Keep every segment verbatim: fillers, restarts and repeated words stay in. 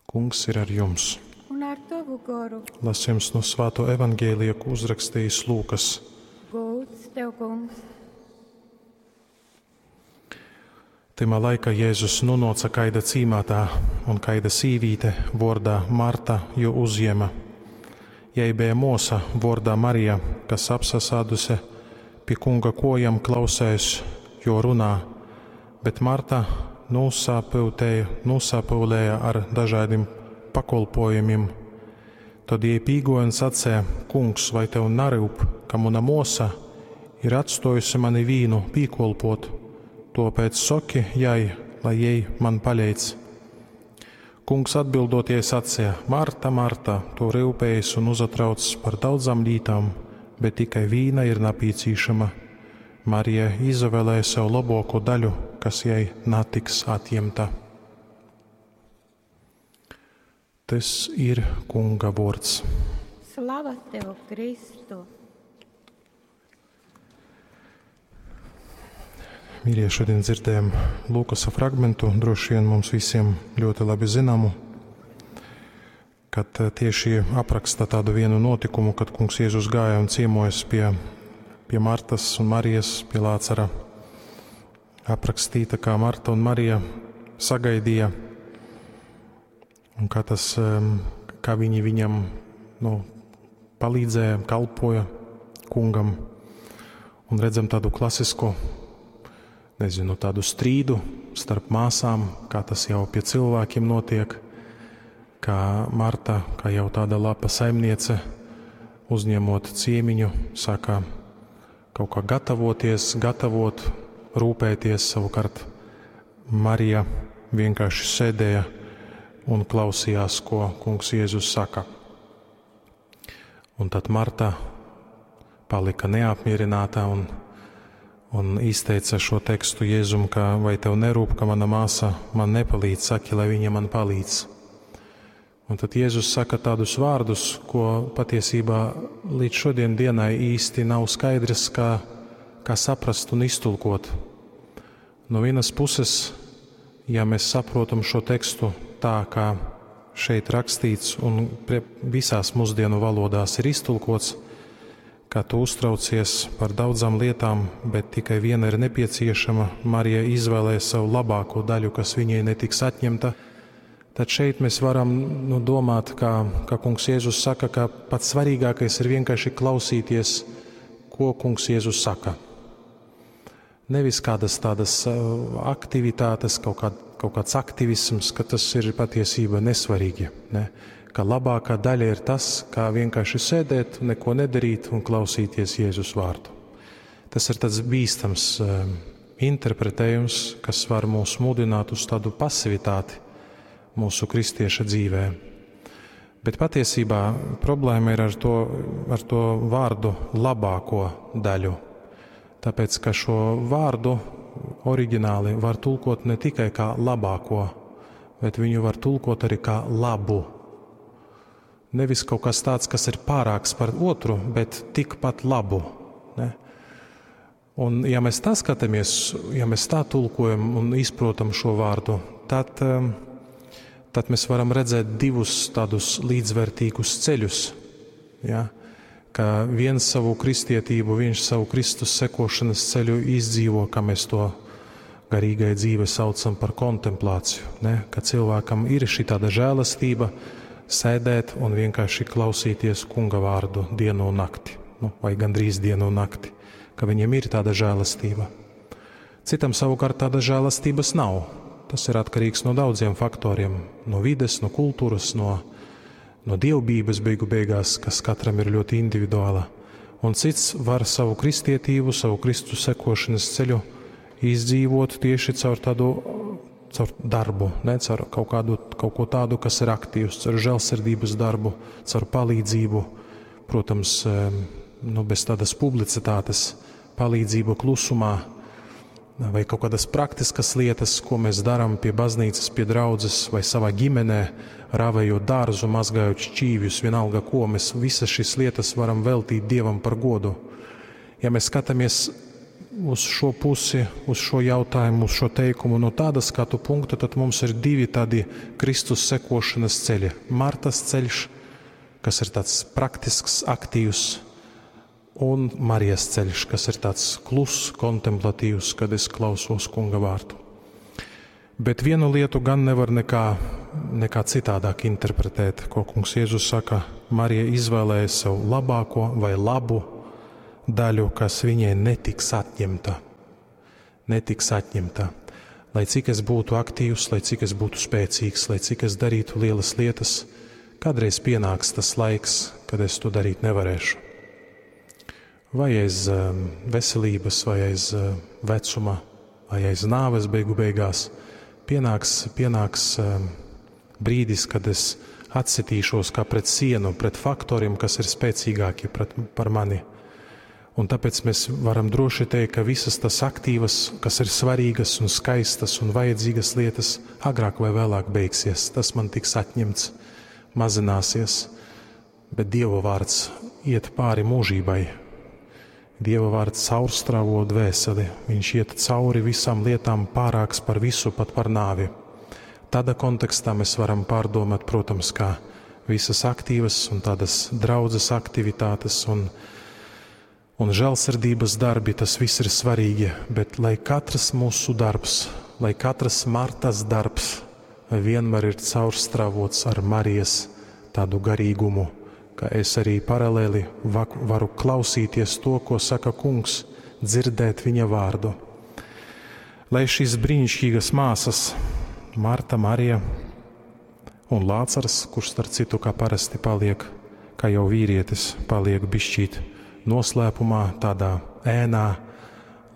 Kungs ir ar jums. Un ar tovu goru. Lasījums no Svāto evaņģēlija, ko uzrakstījis Lūkas. Gods tev, kungs. Tymā laikā Jēzus nonāca kaida cīmātā, un kaida sīvīte vordā Marta jū uzjēma. Jai bija mosa vordā Marija, kas apsasāduse pie kunga kojam klausēs, jo runā, bet Marta nūsapyutēja, nūsapyulēja ar dažādiem pakolpojumiem. Tad jai pīgoja un sacēja: Kungs, vai tev naryup, ka muna mosa ir atstojusi mani vīnu pīkolpot? Topēc soki jai, lai jai man paleidz. Kungs atbildot jai sacīja: Marta, Marta, tu ryupējies un uzatrauc par daudzām lītām, bet tikai vīna ir napīcīšama. Marija izvēlēja sev labāko daļu, kas jai natiks atņemta. Tas ir Kunga vārds. Slava tev, Kristu! Mīļie, šodien dzirdējam Lūkasa fragmentu, droši vien mums visiem ļoti labi zināmu, kad tieši apraksta tādu vienu notikumu, kad Kungs Jēzus gāja un ciemojas pie, pie Martas un Marijas, pie Lācara. Aprakstīta, kā Marta un Marija sagaidīja un kā, tas, kā viņi viņam nu, palīdzēja, kalpoja kungam. Un redzam tādu klasisku, nezinu, tādu strīdu starp māsām, kā tas jau pie cilvēkiem notiek, kā Marta, kā jau tāda lapa saimniece, uzņemot ciemiņu, sāka kaut kā gatavoties, gatavot, rūpēties. Savukārt Marija vienkārši sēdēja un klausījās, ko kungs Jēzus saka. Un tad Marta palika neapmierināta un, un izteica šo tekstu Jēzum, ka vai tev nerūp, ka mana māsa man nepalīdz, saki, lai viņa man palīdz. Un tad Jēzus saka tādus vārdus, ko patiesībā līdz šodien dienai īsti nav skaidrs, kā, kā saprast un iztulkot. No vienas puses, ja mēs saprotam šo tekstu tā, kā šeit rakstīts un visās mūsdienu valodās ir iztulkots, ka tu uztraucies par daudzām lietām, bet tikai viena ir nepieciešama, Marija izvēlēja savu labāko daļu, kas viņai netiks atņemta, tad šeit mēs varam nu, domāt, kā, kā kungs Jēzus saka, ka pats svarīgākais ir vienkārši klausīties, ko kungs Jēzus saka. Nevis kādas tādas aktivitātes, kaut, kā, kaut kāds aktivisms, ka tas ir patiesība nesvarīgi. Ne? Ka labākā daļa ir tas, kā vienkārši sēdēt, neko nedarīt un klausīties Jēzus vārdu. Tas ir tāds bīstams interpretējums, kas var mūs mudināt uz tādu pasivitāti mūsu kristieša dzīvē. Bet patiesībā problēma ir ar to, ar to vārdu labāko daļu. Tāpēc, ka šo vārdu oriģināli var tulkot ne tikai kā labāko, bet viņu var tulkot arī kā labu. Nevis kaut kas tāds, kas ir pārāks par otru, bet tikpat labu. Ne? Un ja mēs tā skatāmies, ja mēs tā tulkojam un izprotam šo vārdu, tad, tad mēs varam redzēt divus tādus līdzvērtīgus ceļus. Ja? Ka viens savu kristietību, viņš savu Kristus sekošanas ceļu izdzīvo, kā mēs to garīgai dzīve saucam par kontemplāciju. Ne? Ka cilvēkam ir šī tāda žēlastība sēdēt un vienkārši klausīties kunga vārdu dienu un nakti, nu, vai gandrīz dienu un nakti, ka viņam ir tāda žēlastība. Citam savukārt tāda žēlastības nav. Tas ir atkarīgs no daudziem faktoriem, no vides, no kultūras, no, no dievbijības beigu beigās, kas katram ir ļoti individuāla. Un cits var savu kristietību, savu Kristus sekošanas ceļu izdzīvot tieši caur tādu, caur darbu, ne, caur kaut kādu, kaut ko tādu, kas ir aktīvs, caur žēlsirdības darbu, caur palīdzību, protams, nu, bez tādas publicitātes, palīdzību klusumā, vai kaut kādas praktiskas lietas, ko mēs darām pie baznīcas, pie draudzes vai savā ģimenē, rāvējot dārzu, mazgājot šķīvjus, vienalga ko, mēs visas šīs lietas varam veltīt Dievam par godu. Ja mēs skatāmies uz šo pusi, uz šo jautājumu, uz šo teikumu no tāda skatu punkta, tad mums ir divi tādi Kristus sekošanas ceļi. Martas ceļš, kas ir tāds praktisks, aktīvs, un Marijas ceļš, kas ir tāds kluss, kontemplatīvs, kad es klausos kunga vārdu. Bet vienu lietu gan nevar nekā, nekā citādāk interpretēt, ko kungs Jēzus saka, Marija izvēlēja sev labāko vai labu daļu, kas viņai netiks atņemta. Netiks atņemta. Lai cik es būtu aktīvs, lai cik es būtu spēcīgs, lai cik es darītu lielas lietas, kādreiz pienāks tas laiks, kad es to darīt nevarēšu. Vai aiz um, veselības, vai aiz uh, vecuma, vai aiz nāves beigu beigās, pienāks, pienāks um, brīdis, kad es atsitīšos kā pret sienu, pret faktoriem, kas ir spēcīgāki pret, par mani. Un tāpēc mēs varam droši teikt, ka visas tas aktīvas, kas ir svarīgas un skaistas un vajadzīgas lietas, agrāk vai vēlāk beigsies. Tas man tiks atņemts, mazināsies, bet Dieva vārds iet pāri mūžībai. Dieva vārds caurstrāvo dvēseli, viņš iet cauri visām lietām pārāks par visu, pat par nāvi. Tādā kontekstā mēs varam pārdomāt, protams, kā visas aktīvas un tādas draudzes aktivitātes un, un žēlsirdības darbi, tas viss ir svarīgi, bet lai katrs mūsu darbs, lai katrs Martas darbs vienmēr ir caurstrāvots ar Marijas tādu garīgumu, ka es arī paralēli varu klausīties to, ko saka kungs, dzirdēt viņa vārdu. Lai šīs brīnišķīgas māsas, Marta, Marija un Lācars, kurš starp citu kā parasti paliek, kā jau vīrietis, paliek bišķīt noslēpumā, tādā ēnā,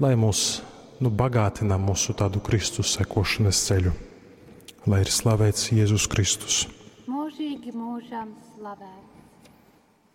lai mūs nu, bagātina mūsu tādu Kristus sekošanas ceļu. Lai ir slavēts Jēzus Kristus. Mūžīgi mūžam slavēts.